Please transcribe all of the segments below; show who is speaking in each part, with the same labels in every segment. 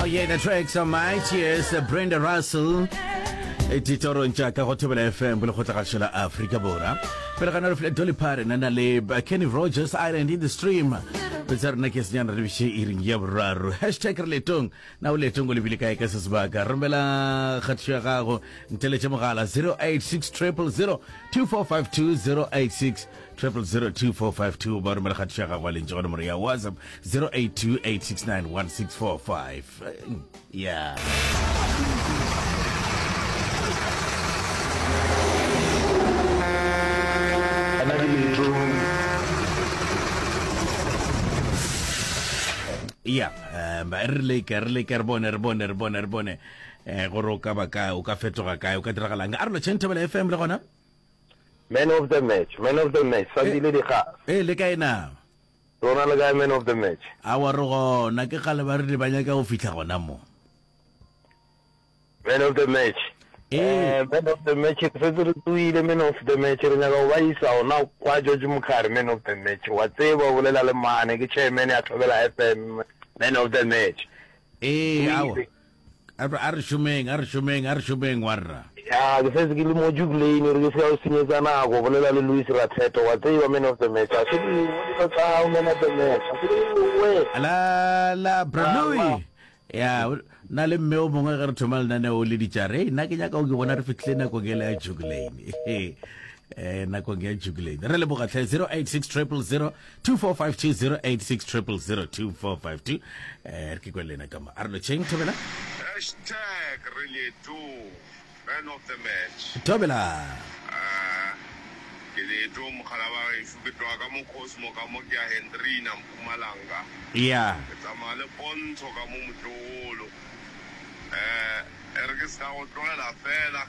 Speaker 1: yeah, the tracks are my tears, Brenda Russell. ditorong tša ka go thobela fm bolekgotlagašo la afrika borwa pele ga nore dolly parton na le kenny rogers island in the stream tsa rena ke senyana re biše iring ya boraro hashtag re letong na o letong o lebile kae ka se sebaka romela kgatišo ya gago nteletše mogala 086 000 2452 086 0002452 ba romela kgatišo ya gago a lentše go nomoro ya whatsapp 0828691645 yeah ya um re leke re leke re bone re bone re bone re bone um gore o ka ba kae o ka fetoga kae o ka diragalang a re lotšheng thobela fm le gona
Speaker 2: Man of the match, man of the match, Sandile Dikgase.
Speaker 1: Ee, le kae na?
Speaker 2: Rona le kae man of the match?
Speaker 1: Awa re gona, ke kgale ba rile ba nyaka go fihla gona mo.
Speaker 2: Man of the match.
Speaker 1: Ee.
Speaker 2: Eh, man of the match, re setse re tsoile man of the match, re nyaka go ba isa gona kwa George Mukhari man of the match. Wa tseba o bolela le mane, ke chairman ya Thobela FM, man of the match.
Speaker 1: Ee, awa.
Speaker 2: Tsoile.
Speaker 1: A re a re šomeng, a re šomeng, a re šomeng, warra.
Speaker 2: Ya, ke setse ke le mo Duke Lane, re ke se ka go senyetsa nako, bolela le Louis Ratheto, wa tseba man of the match, a se ke dilo tsa gago man of the match, a se ke we.
Speaker 1: La la bra Louis. Ya, na le mme o mongwe ge re thoma lenaneo le ditša re, nna ke nyaka go ke bona re fihlile nakong ele ya Duke Lane. Eh, nakong ya Duke Lane. Re leboga tlhe 086 000 2452 086 000 2452 eh re ke kwe lena ka mo a re lotšheng thobela
Speaker 3: Hashtag re leetong man of the match.
Speaker 1: Thobela.
Speaker 3: Ah, ke leetong mogala wa gešo ke tloga ka mo Cosmo ka mo ke ya Hendrina Mpumalanga.
Speaker 1: Yeah.
Speaker 3: Ke tsamaya le Pontsho ka mo motlogolo. Eh, e re ke se ka go tlogela fela.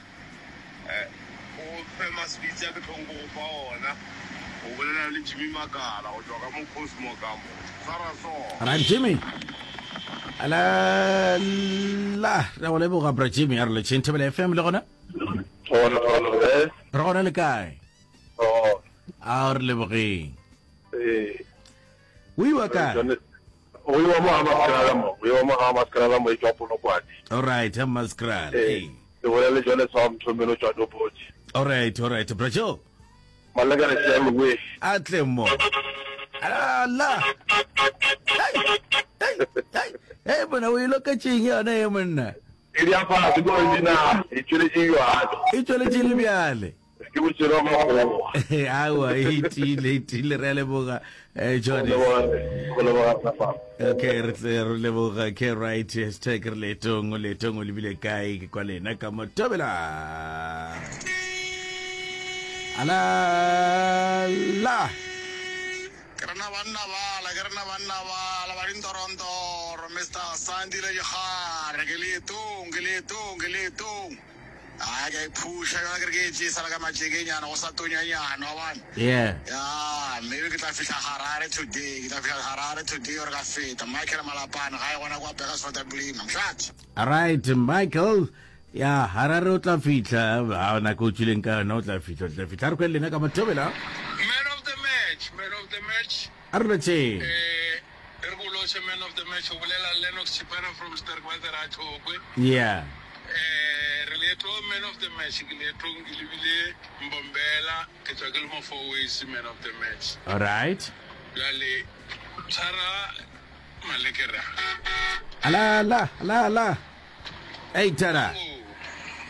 Speaker 3: O fe maswitsi a ke tlong go go fa ona. O bolela le Jimmy Makala go tšwa ka mo Cosmo ka mo. Swara sona.
Speaker 1: Right Jimmy. Ala la re go leboga bra Jimmy a re letšheng Thobela FM le gona.
Speaker 2: Gona gona eh.
Speaker 1: Re gona le kae?
Speaker 2: Oh.
Speaker 1: A re lebogeng.
Speaker 2: Eh.
Speaker 1: O iwa kae?
Speaker 2: O iwa mo Hammanskraal mo. O iwa mo Hammanskraal mo e tšwa Polokwane.
Speaker 1: All right, Hammanskraal.
Speaker 2: Eh. Ke bolela le Jones wa Mthomelo tšwa Doboti.
Speaker 1: All right, all right. Bra Joe.
Speaker 2: Malekane siame we.
Speaker 1: A tle mo. Ala. Hey, hey, hey. Hey, bona o e loketšeng yona e monna.
Speaker 2: E di apara ke original, e tšweletše bjale.
Speaker 1: E tšweletše le bjale.
Speaker 2: Ke botšelo wa makgowa.
Speaker 1: Aowa, e tiile, e tiile, re a leboga, eh, Jones.
Speaker 2: Go leboga rena fa.
Speaker 1: Okay, re tle re leboga ke right hashtag re leetong, o leetong o lebile kae ke kwa lena ka mo tobela. Ala la.
Speaker 3: Ke rena banna bala, ke rena banna bala ba dintorontoro, Mister Sandile Dikgare, ke leetong, ke leetong, ke leetong. Ai, ke a iphusha jwale ke re ke e tšee sala ka matšekenyana go sa tonyanyana wa bona.
Speaker 1: Yeah.
Speaker 3: Ya, maybe ke tla fihla Harare today, ke tla fihla Harare today or ka feta. Michael Malapane gae gona kwa Burgersfort Blima. Mšate.
Speaker 1: Alright, Michael. Ya, Harare o tla fihla. Ha nako o tšwileng ka yona o tla fihla, o tla fihla. A re kwe le lena ka Mathobela.
Speaker 3: Man of the match, man of the match.
Speaker 1: A re lotšheng.
Speaker 3: Eh, e re ko lotšhe man of the match o bolela Lennox Chipana from Sterkwater a Tlokwe.
Speaker 1: Yeah.
Speaker 3: Eh, re leetong man of the match ke leetong ke lebile Mbombela ke tswa ke le mo Fourways man of the match.
Speaker 1: All right.
Speaker 3: Bjale tshwara malekere a.
Speaker 1: Ala la la la. Hey tara.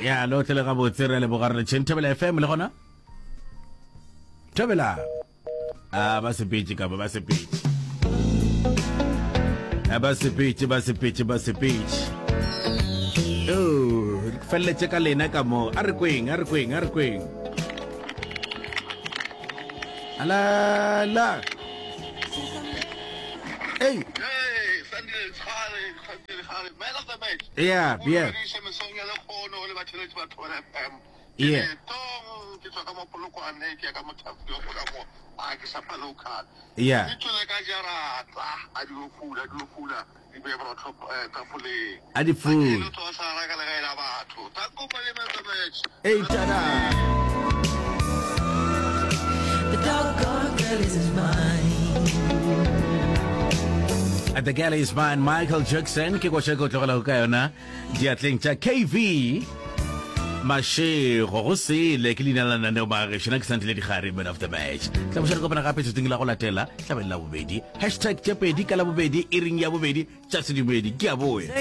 Speaker 1: Ya lo tle le gabotse re leboga re lotšheng Thobela FM le gona. Thobela. A ba sepetše ka ba ba sepetše. A ba sepetše ba sepetše ba sepetše. Oh, re feleletše ka lena ka mo. A re kweng, a re kweng, a re kweng. Ala la. Hey.
Speaker 3: Hey, Sandile, Tshware, Sandile, Tshware, man of the match.
Speaker 1: Yeah, yeah.
Speaker 3: Yeah. Ke tswa ka mo Polokwane ke ya ka mo Tafile go ka mo a ke shapa local.
Speaker 1: Yeah.
Speaker 3: Ke tswele ka jarata a di fula di fula di be borotho eh, tafoleng.
Speaker 1: A di fula.
Speaker 3: Ke tlo sara ka legae la batho. Tsa kopa le metsa match.
Speaker 1: Ei tada.
Speaker 4: The doggone girl is mine.
Speaker 1: The Girl Is Mine, Michael Jackson, ke koša ke o tlogelago ka yona diatleng tša KV Mashego go sele ke leina la lenaneo magešo na ke santile digare man of the match tla boša re kopana gape tšatšing la go latela tlabeng la bobedi hashtag tše pedi ka la bobedi e reng ya bobedi tša sedumedi ke a boya.